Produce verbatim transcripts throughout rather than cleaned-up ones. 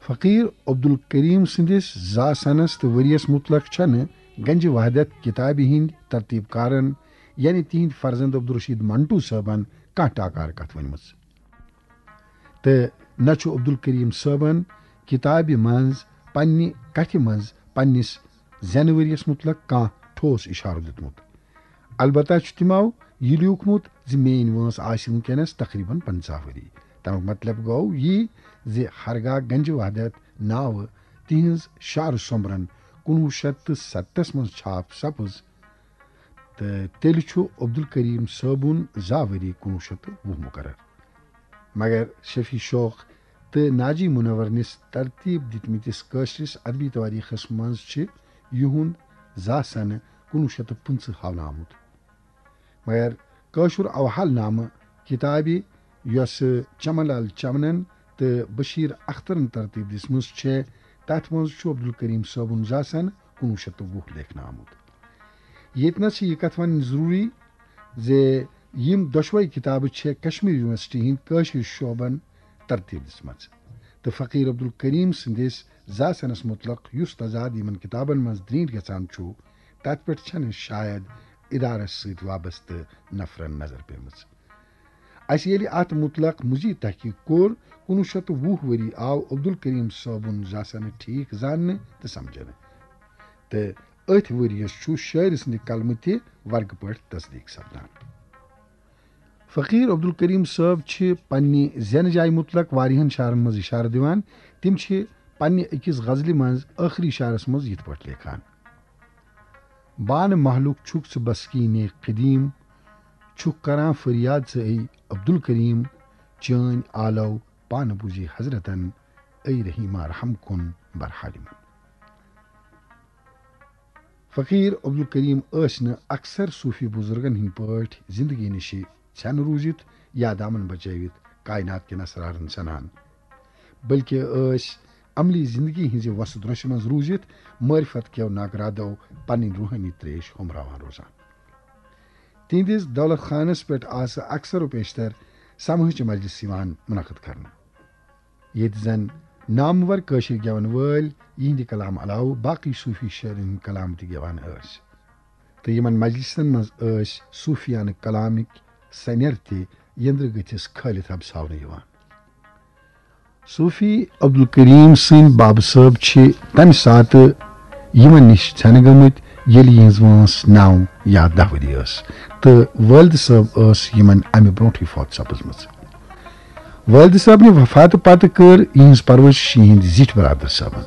فقیر عبدالکریم سٕنٛدِس زا سنس تہٕ ؤریس متعلق چھنہٕ گنج وحدت کتابہِ ہٕنٛدۍ ترتیب کارن، یعنی تِہنٛدۍ فرزند عبدالرشید منٹو صٲبن، کانٛہہ ٹاکار کتھ ؤنمٕژ۔ تہٕ نہ چھُ عبدالکریم صٲبن کتابہِ منٛز پننہِ کتھِ منٛز پننِس زینہٕ ؤریس متعلق کانٛہہ ٹھوس اشارٕ دیُتمُت۔ البتہ چھُ تِمو یہِ لیوٗکھمُت زِ میٲنۍ وٲنٛس آسہِ وٕنکیٚنس تقریباً پنٛژاہ ؤری۔ تمیُک مطلب گوٚو یہِ زِ ہرگاہ گنج وحدت ناوٕ تِہنٛز شعر سومبرن کُنوُہ شیٚتھ تہٕ ستتس منٛز چھاپ سپٕز، تہٕ تیٚلہِ چھُ عبدالکریم صٲبُن زا ؤری کُنوُہ شیٚتھ تہٕ وُہ مقرر۔ مگر شفیع شوق تہٕ ناجی منور نِس ترتیب دِتمٕتِس کٲشرِس ادبی توٲریٖخس منٛز چھِ یِہُنٛد زا سنہٕ کُنوُہ شیٚتھ تہٕ پٕنٛژٕہ ہاونہٕ آمُت۔ مگر کٲشُر اوحال نامہٕ کِتابہِ، یۄسہٕ چمن لال چمنن تہٕ بشیر اخترن ترتیب دِژمٕژ چھےٚ، تتھ منٛز چھُ عبدالکریم صٲبُن زا سنہٕ کُنوُہ شیٚتھ تہٕ وُہ لیکھنہٕ آمُت۔ ییٚتہِ نَس چھِ یہِ کتھ وَنٕنۍ ضروٗری زِ یِم دۄشوے کِتابہٕ چھےٚ کشمیر یونیورسٹی ہٕنٛدۍ کٲشِر شعبن ترتیب دِژمٕژ، تہٕ فقیر عبدالکریم سٕنٛدِس زا سنس متعلق یُس تضاد یِمن کِتابن منٛز درینٹھ گژھان چھُ، تتھ پٮ۪ٹھ چھنہٕ شاید ادارس سۭتۍ وابستہٕ نفرن نظر پیمٕژ۔ اسہِ ییٚلہِ اتھ متعلق مزید تحقیق کوٚر، کُنوُہ شیٚتھ تہٕ وُہ ؤری آو عبدالکریم صٲبُن زا سنہٕ ٹھیک زاننہٕ تہٕ سمجھنہٕ، تہٕ أتھۍ ؤریس چھُ شٲعر سٕنٛدِ قلمہٕ تہِ ورقہٕ پٲٹھۍ تصدیق سپدان۔ فقیر عبدالکریم صٲب چھِ پننہِ زینہٕ جایہِ متعلق واریاہن شعرن منٛز اشارٕ دِوان۔ تِم چھِ پننہِ أکِس غزلہِ منٛز ٲخری شعرس منٛز یِتھ پٲٹھۍ لیکھان: بانہٕ مہلُک چھُکھ ژٕ بسکیٖنے قدیٖم، چھُکھ کران فریاد ژٕ اے عبدالکریم، چٲنۍ آلو پانہٕ بوٗزی حضرتن، اے رحیما رحم کُن برحالِمن۔ فقیر عبدالکریم ٲسۍ نہٕ اکثر صوفی بزرگن ہٕنٛدۍ پٲٹھۍ زندگی نِشہِ ژھٮ۪نہٕ روٗزِتھ یا دامن بچٲوِتھ کائنات کٮ۪ن اسرارن سنان، بلکہِ ٲسۍ عملی زندگی ہٕنٛزِ وسہٕ درۄشہِ منٛز روٗزِتھ معرفت کٮ۪و ناگرادو پنٕنۍ روحٲنی تریش ہومراوان روزان۔ تِہنٛدِس دولت خانس پٮ۪ٹھ آسہٕ اکثر و پیشتر سماجچہِ مجلس یِوان منعقد کرنہٕ، ییٚتہِ زن نامور کٲشِر گٮ۪ون وٲلۍ یِہنٛدِ کلام علاوٕ باقٕے صوفی شٲعرن ہٕنٛدۍ کلام تہِ گٮ۪وان ٲسۍ۔ تہٕ یِمن مجلسن منٛز ٲسۍ صوفیانہٕ کلامٕکۍ سنیر تہِ یندرٕ گٔژھِس کھٲلِتھ ربساونہٕ یِوان۔ صوفی عبدالکریم سٕنٛدۍ بابہٕ صٲب چھِ تمہِ ساتہٕ یِمن نِش ژھٮ۪نہٕ گٔمٕتۍ، ییٚلہِ یِہنٛز وٲنٛس نو یا دہ ؤری ٲس، تہٕ والدٕ صٲب ٲس یِمن امہِ برونٛٹھٕے فوت سپٕزمٕژ۔ والدٕ صٲبنہِ وفاتہٕ پتہٕ کٔر یِہنٛز پرورش یِہنٛدِ زِٹھۍ برادر صٲبن۔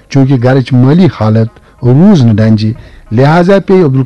چوٗنٛکہِ گرٕچ مٲلی حالت روٗز نہٕ ڈنجہِ، لہذا پیٚیہِ عبدالکریم